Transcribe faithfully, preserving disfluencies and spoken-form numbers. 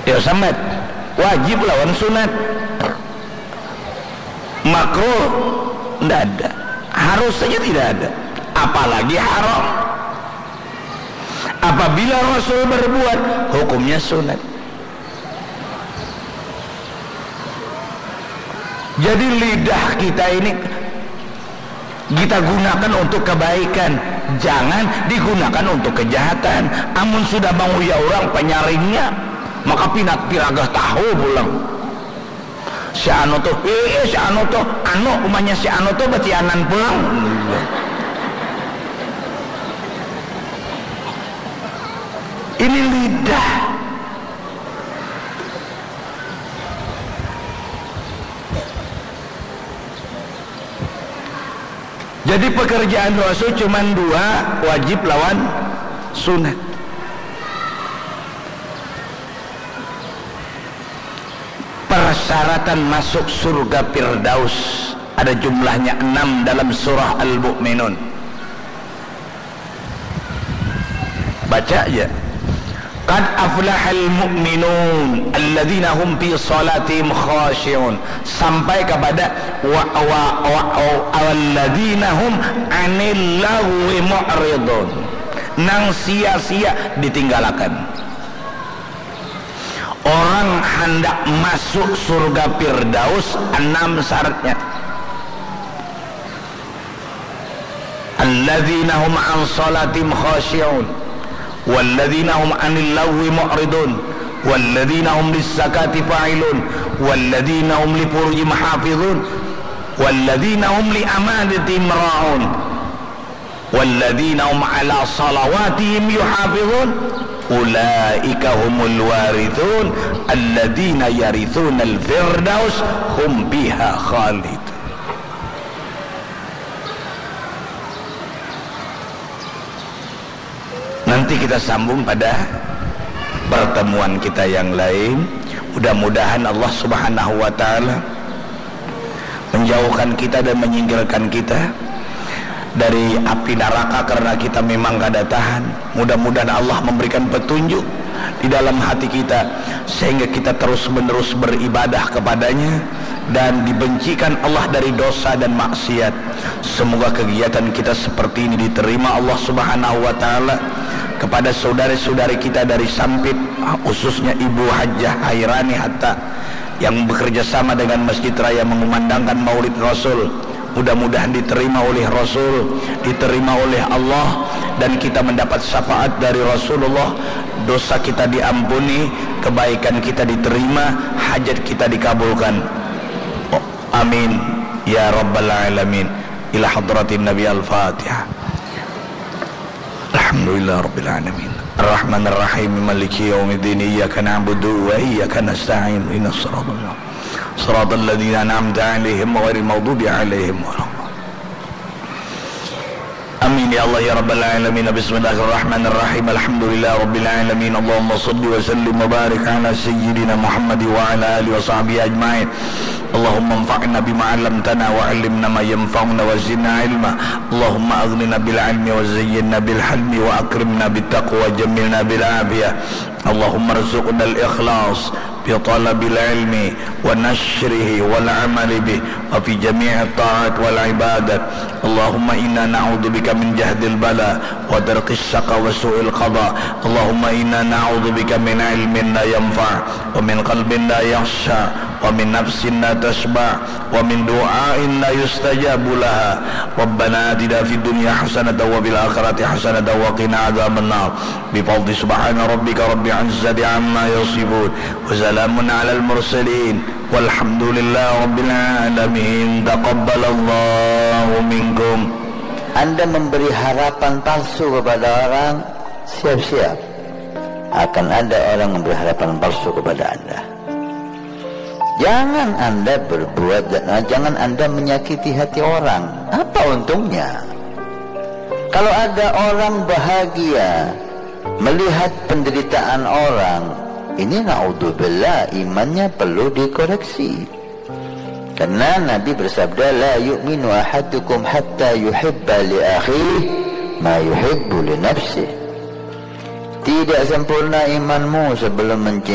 Ya sambat, wajib lawan sunat. Makruh ndak ada, harus saja tidak ada, apalagi haram. Apabila Rasul berbuat, hukumnya sunat. Jadi lidah kita ini kita gunakan untuk kebaikan, jangan digunakan untuk kejahatan. Amun sudah manguya orang panyaringnya, maka pinat piragah tahu pulang. Si anu tuh, eh, eh, si anu tuh, anu umanya si anu tuh batianan pulang. Ini lidah. Jadi pekerjaan Rasul cuma dua, wajib lawan sunat. Persyaratan masuk surga Firdaus ada jumlahnya enam dalam surah Al-Mu'minun. Baca aja. Qad aflahal mu'minun alladzina hum fi salatihim khashi'un, sampai kepada wa wa wa alladzina hum anil lagwi mu'ridun, nang sia-sia ditinggalakan. Orang handak masuk surga Firdaus, enam syaratnya. Alladzina hum an salatihim khashi'un, walladzina hum anil lagwi mu'ridun, walladzina hum lissakati fa'ilun, walladzina hum lifurujihim hafizun, walladzina hum li amanatihim ra'un, walladzina hum ala salawatihim yuhafizun, ulaika humul warithun, alladzina yarithunal firdaus hum fiha khalidun. Nanti kita sambung pada pertemuan kita yang lain. Mudah-mudahan Allah Subhanahu wa Ta'ala menjauhkan kita dan menyingkirkan kita dari api neraka karena kita memang kada tahan. Mudah-mudahan Allah memberikan petunjuk di dalam hati kita sehingga kita terus-menerus beribadah kepadanya dan dibencikan Allah dari dosa dan maksiat. Semoga kegiatan kita seperti ini diterima Allah Subhanahu wa Ta'ala. Kepada saudara-saudari kita dari Sampit, khususnya Ibu Hajah Hairani Hatta, yang bekerja sama dengan Masjid Raya mengumandangkan Maulid Rasul, mudah-mudahan diterima oleh Rasul, diterima oleh Allah, dan kita mendapat syafaat dari Rasulullah. Dosa kita diampuni, kebaikan kita diterima, hajat kita dikabulkan. Amin ya rabbal alamin. Ila hadratin Nabi. Al-Fatihah. Alhamdulillah rabbil alamin. Arrahmanir rahim. Maliki yaumiddin. Iyyaka na'budu wa iyyaka nasta'in. Ihdinas siratal mustaqim. Siratal ladzina an'amta 'alaihim ghairil maghdubi 'alaihim waladdallin. Amin ya Allah ya rabbal alamin. Bismillahirrahmanirrahim. Alhamdulillah rabbil alamin. Allahumma shalli wa sallim wa barik ala sayyidina Muhammad wa ala alihi wa sahbihi ajmain. Allahumma anfa'na bima 'allamtana wa 'allimna ma yanfa'una wa zidna ilma. Allahumma aghnina bil ilmi wa zayyinna bil hilmi wa akrimna bit taqwa wa jammilna bil afiyah. Allahumma rzuqna al ikhlas fi talabil ilmi wa nashrihi wal amali bih wa fi jami'it ta'at wal ibadat. Allahumma inna na'udzubika min jahdil bala wa darkis syaqa wa su'il qada. Allahumma inna na'udzubika min ilmin la yanfa' wa min qalbin la yakhsha wa min nafsin la tashba' wa min du'ain la yustajabu laha. Rabbana atina fid dunya hasanatan wa fil akhirati hasanatan wa qina adzabannar. Bi fadli subhana rabbika rabbil izzati amma yasifun. Wa salamun alal mursalin. Walhamdulillahi rabbil alamin. Taqabbalallahu minkum. Anda memberi harapan palsu kepada orang, siap-siap akan ada orang memberi harapan palsu kepada Anda. Jangan Anda berbuat, jangan Anda menyakiti hati orang. Apa untungnya? Kalau ada orang bahagia melihat penderitaan orang, ini naudzubillah, imannya perlu dikoreksi. Karena Nabi bersabda, "La yu'minu ahadukum hatta yuhibba li akhihi ma yuhibbu li nafsihi." Tidak sempurna imanmu sebelum mencintai